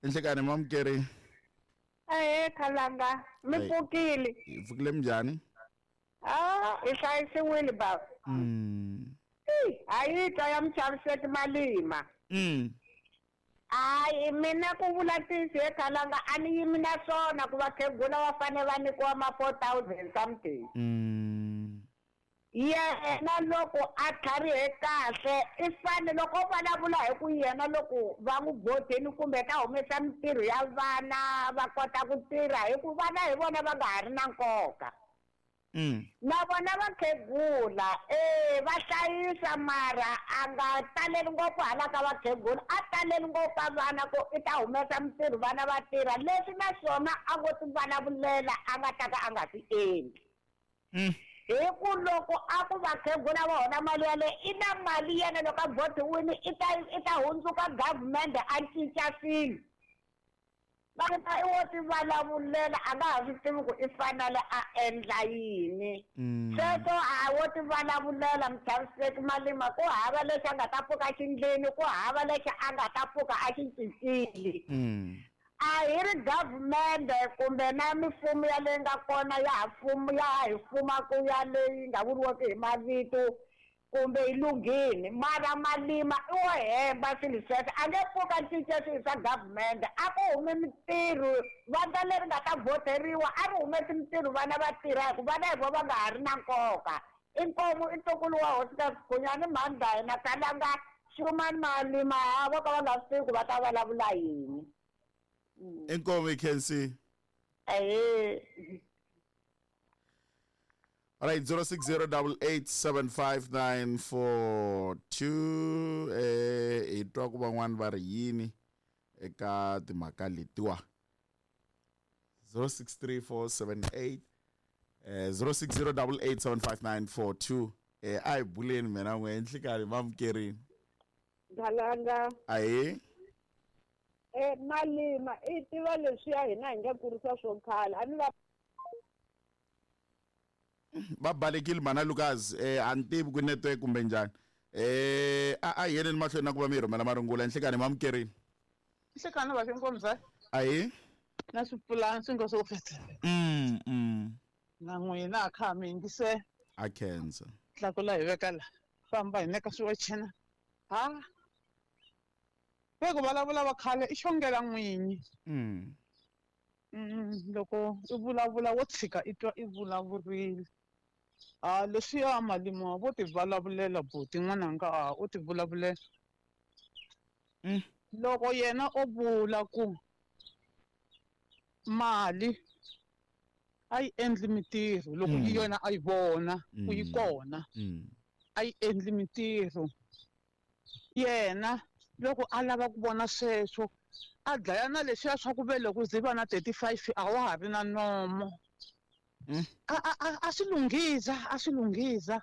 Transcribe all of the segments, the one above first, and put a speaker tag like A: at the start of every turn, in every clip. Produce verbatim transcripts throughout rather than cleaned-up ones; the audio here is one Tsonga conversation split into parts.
A: Enhlekani mamukeri.
B: Ehe Khalanga, mi pfukile.
A: Hi pfukile minjhani?
B: Ah, hi hlayisiwile baba.
A: Mm.
B: A yi twa ya muchaviseki Malima.
A: Mm.
B: Hayi mina ku vula ntiyiso he Khalanga a ni yimi na swona ku vakhegula va fanele va nyikiwa ma four thousand something.
A: Mm.
B: Yena loko a tlharihe kahle i fanele loko o vulavula hi ku yena loko va n'wi godini kumbe ta humesa mintirho ya vana va kota ku tirha hi ku vana hi vona va nga ha ri na nkoka.
A: Mm.
B: Na vona vakhegula eh va hlayisa mara a nga taleli ngopfu hala ka vakhegula a taleli ngopfu vana ku i ta humesa mintirho vana va tirha leswi naswona a ngo ti vulavulela a nga ta ka a nga swi endli.
A: Mm.
B: Hi ku loko a ku vakhegula va hola mali yaleyo i na mali yena loko a votiwile i ta i ta hundzuka government a cinca swilo. Va i wo ti vulavulela a nga ha swi tivi ku i fanele a endla yini. Sweswo a wo ti vulavulela muchaviseki Malima ku hava lexi a nga ta pfuka xindlini ku hava lexi a nga ta pfuka a xi cincile. A hi ri government kumbe na mifumo ya leyi nga kona ya ha fumo ya ha hi fumaku ya leyi nga vuriweki hi mavito kumbe yi lunghile mara Malima i wo hemba swilo sweswo a nge pfuka cinca swilo swa government a ku humi mintirho vandla leri nga ta voteriwa a ri humesi mintirho vana va tirha hi ku vana hi vo va nga ha ri na nkoka. Inkomu i ntukulu wa hosi ka Sikhunyani mhani hina Khalanga Xumani Malima vo ka va nga swi tivi ku va ta vulavula yini.
A: Inkomu Khensi.
B: Ehe.
A: All right, zero six zero double eight seven five nine four two. Eh, hi twa ku van'wani va ri yini eka timhaka letiwa. zero six three four seven eight eh zero six zero double eight seven five nine four two. Eh, a hi buleni mina n'we enhlekani mamukerini.
C: Khalanga.
A: Ahe.
C: Eh, Malima i tiva leswiya hina hi nga kurisa swo khale a ni va
A: va balekile mana Lucas eh a ni tivi ku network kumbe njhani eh a a yeleni mahlweni na ku va mi rhumela marungula enhlekani mamukerini.
D: Nhlekani va xinkomza.
A: Ahe.
D: Na swipulani swi nga swo feta.
A: Mm mm.
D: Na n'wina a kha mi yingise.
A: A khensa.
D: Tlakula hi veka la. Famba hi neka swiwachena. Ha. Ve ku vulavula va khale i xongela n'winyi.
A: Mm.
D: Mm, loko i vulavula wo tshika i twa i vulavurile. Ah, leswiya Malima vo ti vulavulela buti n'wananga a u ti vulavulela.
A: Mm.
D: Loko yena o vula ku mali a yi endli mintirho loko
A: Mm.
D: yona a yi vona ku yi
A: Mm.
D: kona
A: Mm.
D: a yi endli mintirho yena loko a lava ku vona sweswo a dlaya na leswiya swa ku ve loko ze va na thirty-five a wa ha ri na nomo.
A: Mm.
D: A a a a swi lunghisa a swi lunghisa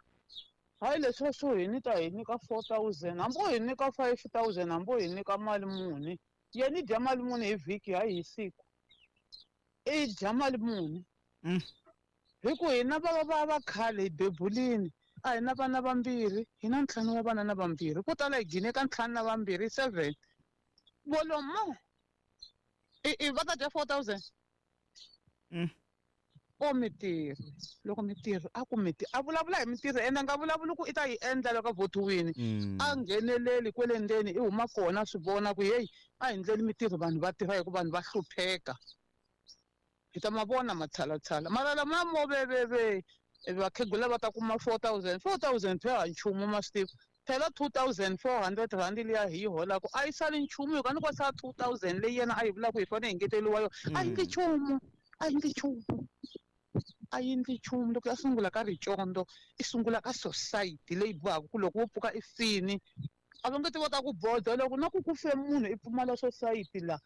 D: hayi leswiya swo hi ni ta hi nyika four thousand hambi o hi nyika five thousand hambi o hi nyika mali muni yena i dya mali muni hi vhiki hayi hi siku i dya mali muni.
A: Mm.
D: Hi ku hina va va va khale hi bebulini a hi na vana vambirhi hi na ntlhanu wa vana na vambirhi ko tala hi gine ka ntlhanu na vambirhi seven volomo i i va ta dya four thousand.
A: Mm.
D: O mintirho loko mintirho a ku mintirho a vulavula hi mintirho ende a nga vulavuli ku i ta yi endla loko a votiwile.
A: Mm.
D: A ngheneleli kwele ndzeni i huma kona swi vona ku heyi a hi ndleli mintirho vanhu va tirha hi ku vanhu va hlupheka hi ta ma vona matshalatshala mara lama mo veveve vakhegula va ta kuma four thousand four thousand phela nchumu ma swi tiva phela two thousand four hundred rand liya hi yi holaka a yi sali nchumu hi ka ni ko sala two thousand leyi yena a yi vulaka hi fanele hi ngeteriwa yona a yi ndli nchumu a yi ndli nchumu a yi ndli nchumu loko ya sungula ka ricondo i sungula ka society leyi bohaka ku loko wo pfuka i fini a va nge ti va ta ku boda loko na ku ku fe munhu i pfumala society la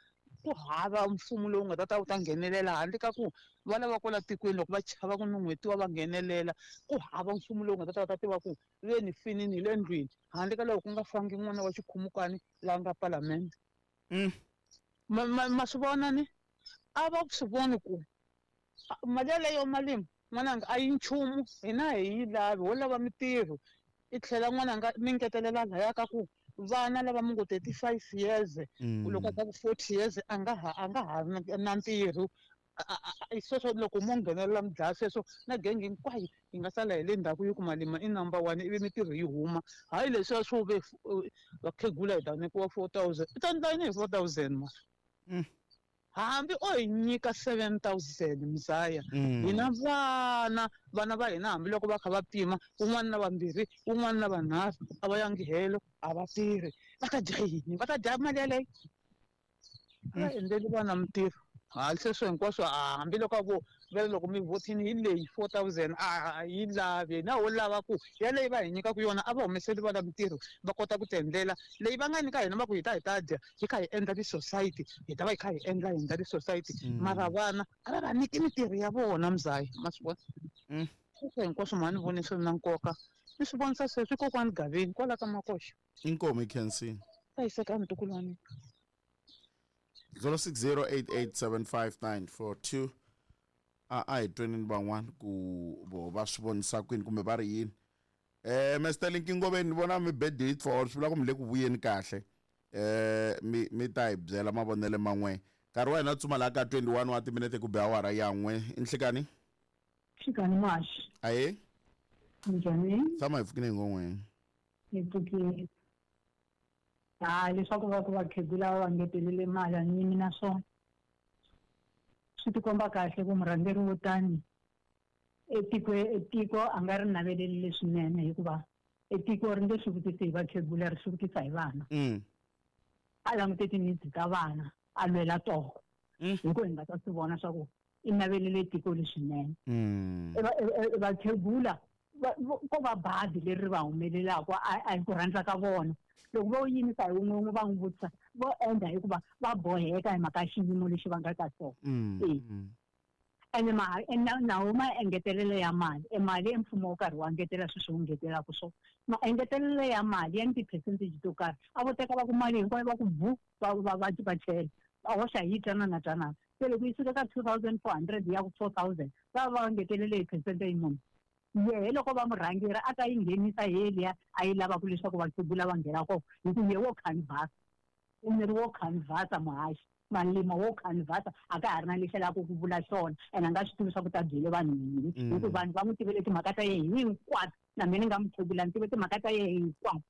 D: ku hava mfumo lowu nga ta ta wu ta nghenelela handle ka ku va lava kwala tikweni loko va chava ku nun'hwetiwa va nghenelela ku hava mfumo lowu nga ta ta va ta tiva ku ve ni finini hi le ndlwini handle ka loko ku nga fangi n'wana wa xikhumukani laha nga palamende.
A: Mm.
D: Ma ma ma swi vona ni a va swi voni ku mali yaleyo Malima n'wananga a yi nchumu hina hi yi lavi ho lava mintirho i tlhela n'wananga mi ngetelela laya ka ku Vana lava mi ngo thirty-five years loko ka forty years a nga ha a nga ha na ntirho. Sweswo loko mo nghenelela mi dlaya sweswo na genge hinkwayo yi nga sala hi le ndzhaku yi ku Malima i number one ivi mintirho yi huma. Hayi leswiya swo ve vakhegula hi ta nyikiwa four thousand. I ta endla yini hi four thousand ma? Hambi o hi nyika seven thousand mzaya. Hina vana vana va hina hambiloko va kha va pima un'wana na vambirhi un'wana na vanharhu a va yangi helo a va tirhi. Va ta dya yini? Va ta dya mali yaleyo? A va endleli vana mintirho. Hayi sweswo hinkwaswo hambiloko a vo vele loko mi vhotini hi leyi four thousand a yi lavi na wo lava ku yaleyi va hi nyikaka yona a va humeseli vana mintirho va kota ku ti endlela leyi va nga nyika hina va ku hi ta hi ta dya hi kha hi endla ti-society hi ta va hi kha hi endla hi endla ti-society mara vana a va va nyiki mintirho ya vona mzaya ma swi vona. Sweswo hinkwaswo mhani voni swi ri na nkoka ni swi vonisa sweswi kokwani Gaveni kwala ka Makoxa.
A: Inkomu Khensi.
D: Hlayiseka ntukulu wa mina.
A: zero six zero eight eight seven five nine four two. A a hi tweni van'wana ku vo va swi vonisa kwini kumbe va ri yini. Eh Mister Linki Ngoveni ni vona mi bed it for swi vula ku mi le ku vuyeni kahle. Eh mi mi ta hi byela mavonelo man'we. Nkarhi wa hina tsuma la ka twenty-one wa timinete ku be awara ya n'we. Inhlekani?
E: Xikani maxi.
A: Aye.
E: Njhani?
A: Tshama hi pfukile ngongweni.
E: Hi pfukile. Hayi leswaku va ku vakhegula va ngetelele mali a ni yimi na swona. Swi tikomba kahle ku murhangeri wo tani etiko etiko a nga ri naveleli leswinene hikuva etiko ri nge swi vutisi hi vakhegula ri swi vutisa hi vana. A langute ti-needs ta vana a lwela toho. Hi ku hi nga ta swi vona swa ku i navelele tiko leswinene. Vakhegula ko va bazi leri va humelelaka a hi ku rhandza ka vona. Loko vo yimisa hi wun'we wun'we va n'wi vutisa vo endla hikuva va boheka hi mhaka xiyimo lexi va nga ka xona. Ene ma nawu maengetelelo ya mali e mali mfumo wo karhi wa ngetela sweswi wu ngetelaka swona. Maengetelelo ya mali ya ni ti-percentage to karhi a vo teka va ku mali hinkwayo va ku bu va va va va chela va hoxa hi twanana twanana. Se loko yi suka ka two thousand four hundred ya ku four thousand va va ngetelele hi percentage munhu. Yehe loko va murhangeri a ta yi nghenisa yeliya a yi lavaka leswaku vakhegula va nghena kona hi ku ye wo canvas i miri wo canvasa muhaxi Malima wo canvasa a ka ha ri na lexi a lavaka ku vula xona ene a nga swi tivi swa ku ta byele vanhu yini hi ku vanhu va n'wi tivele timhaka ta yena hinkwato na mina ni nga mukhegula ni tive timhaka ta yena hinkwato.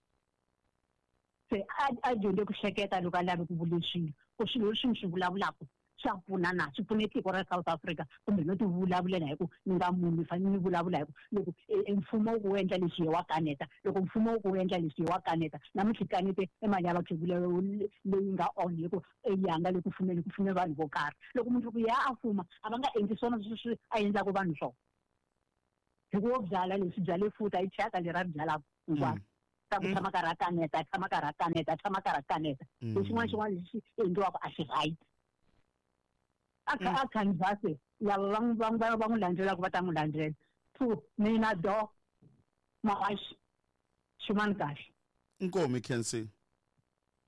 E: Se a a dyondze ku hleketa loko a lave ku vula swilo ku swilo leswi ni swi vulavulaka swa pfuna na swi pfune tiko ra South Africa kumbe no ti vulavulela hi ku ni nga munhu ni fanele ni vulavula hi ku loko mfumo wu ku endla leswi wa kaneta loko mfumo wu ku endla leswi wa kaneta namuntlha kanete e mali ya vakhegula leyi nga on hi ku ya nga le ku fumeni ku fume vanhu vo karhi loko mundzuku ya a fuma a va nga endli swona sweswi a endlaka vanhu swona hi ku wo byala leswi byale futa i thyaka leri a ri byalaka hinkwaro ta ku tshama karhi a kaneta a tshama karhi a kaneta a tshama karhi a kaneta lexin'wana xin'wana lexi endliwaka a xi right. A a canvas lava va va va va n'wi landzelaka va ta n'wi landzela. Two mina do mawaxi xin'wana kahle.
A: Inkomu Khensi.